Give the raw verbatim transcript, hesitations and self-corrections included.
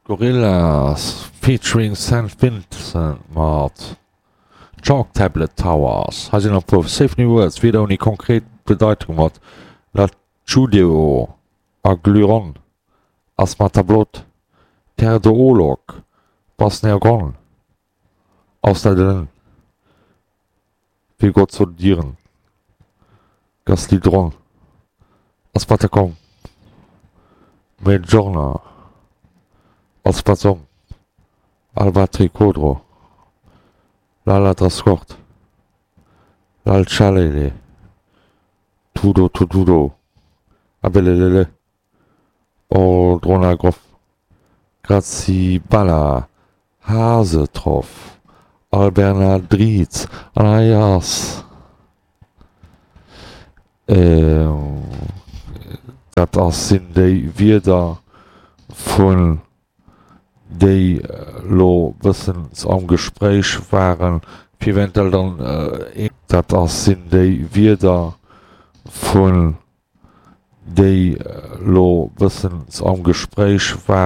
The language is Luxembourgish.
Gorillaz featuring Saint Vincent mat Chalk Tablet Towers. Hei sinn nach e puer Safe New Words, Wierder ouni konkret Bedeitung mat Lachudeo, Aglyron, Asmatablot, Terdoolog, Basnergon, Ausleiden, Vigozodieren, Gaslidron, Aspartakom, Medjorna, Alspazom, Albatricodro, Laladrascort, Lalchalele, Tudo-Tududo, Abelelele, Ordronagroff, Grazibala, Hasetroff, Albernadriz, Anaias. Dat ass sinn déi Wierder vun déi lo bëssen am Gespréich waren, fir eventuell dann een. Dat ass sinn déi Wierder vun déi lo bëssen am Gespréich waren.